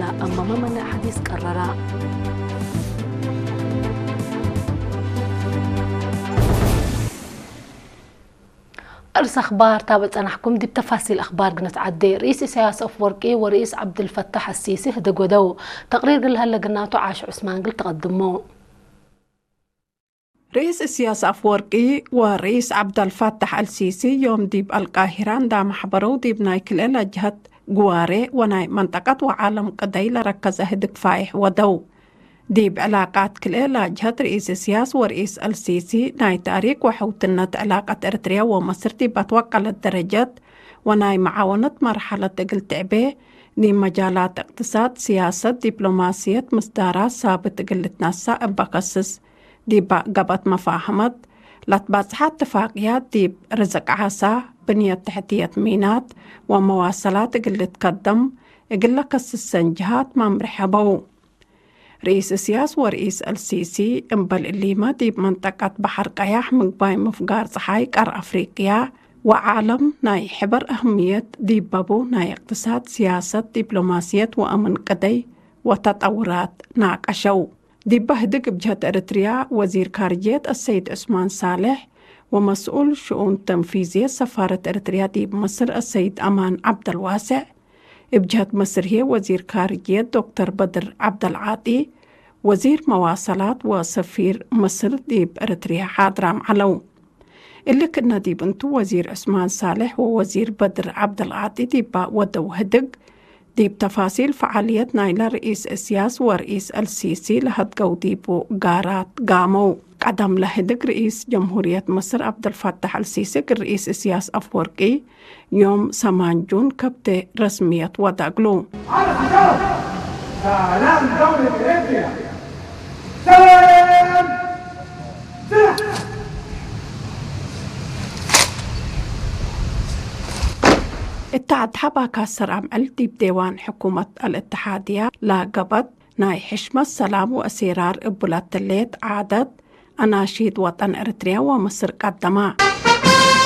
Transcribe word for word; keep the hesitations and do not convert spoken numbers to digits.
አማመ መነ ሐዲስ ቀረራ። እርስ አኽባር ታብዕ ጸናሕኩም። ዲብ ተፋሲል አኽባር ግንትዓዴ። ርኢስ ኢሳያስ አፍወርቂ ወርኢስ ዐብድልፈታሕ አሲሲ ህድግ ወደው። ተቅሪር እግል ለሀለ ግናቱ ዓሽ ዑስማን እግል ተቀድሞ። ርኢስ እስያስ አፍወርቂ ወርኢስ ዐብደልፋታሕ አልሲሲ ዮም ዲብ አልቃሂራ እንዳ መሕበረው፣ ዲብ ናይ ክልኤ ለጅሀት ግዋሬ ወናይ መንጠቀት ወዓለም ቅደይ ለረከዘ ህድግ ፋይሕ ወደው። ዲብ ዕላቃት ክልኤ ለጅሀት ርኢስ እስያስ ወርኢስ አልሲሲ ናይ ታሪክ ወሕውትነት ዕላቀት ኤረትርያ ወመስር ዲብ አትወቀለት ደረጀት ወናይ መዓወነት መርሐለት እግል ትዕቤ፣ ዲብ መጃላት እቅትሳድ፣ ስያሰት፣ ዲፕሎማስየት፣ ምስዳራት ሳብት እግል ልትነሳእ እበ ከስስ። ዲበ ገበት መፋህመት ለትበጽሐ እትፋቅያት ዲብ ርዝቅ ዓሳ፣ ብንየት ተሕትየት ሚናት ወመዋሰላት እግል ልትከደም እግል ለከስሰን ጅሃት መምርሕ ሀበው። ርኢስ እስያስ ወርኢስ አልሲሲ እምበል እሊመ ዲብ መንጠቀት በሐር ቀያሕ፣ ምግባይ ምፍጋር ጸሓይ፣ ቀር አፍሪቅያ ወዓለም ናይ ሕበር አህምየት ዲበቡ ናይ እቅትሳድ፣ ስያሰት፣ ዲፕሎማስየት ወአምን ቅደይ ወተጠውራት ናቀሸው። ዲበ ህድግ እብ ጀህት ኤረትርያ ወዚር ካርጅየት አሰይድ ዑስማን ሳልሕ ወመስኡል ሽኡን ተንፊዝየት ሰፋረት ኤረትርያ ዲብ ምስር አሰይድ አማን ዐብደልዋሴዕ፣ እብ ጀህት መስር ህዬ ወዚር ካርጅየት ዶክተር በድር ዐብደልዓጢ፣ ወዚር መዋሰላት ወሰፊር ምስር ዲብ ኤረትርያ ሓድራም ዐለው። እሊ ክእነ ዲብ እንቱ፣ ወዚር ዑስማን ሳልሕ ወወዚር በድር ዐብደልዓጢ ዲበ ወደው ህድግ፣ ዲብ ተፋሲል ፈዓልየት ናይለ ርኢስ እስያስ ወርኢስ አልሲሲ ለሀድገው ዲቡ ጋራት ጋመው። ቀደም ለህድግ ርኢስ ጀምሁርየት ምስር ዐብደልፋታሕ አልሲሲ እግል ርኢስ እስያስ አፍወርቂ ዮም ሰማን ጁን ከብቴ ረስምየት ወደ እግሉ። እተ አድሐ ባካሰር አምዕል ዲብ ዴዋን ሕኩመት አልእትሓድያ ለገበት ናይ ሕሽመት ሰላም ወእሴራር እቡ ለትሌት ዓደት አናሺድ ወጠን ኤረትርያ ወምስር ቀደማ።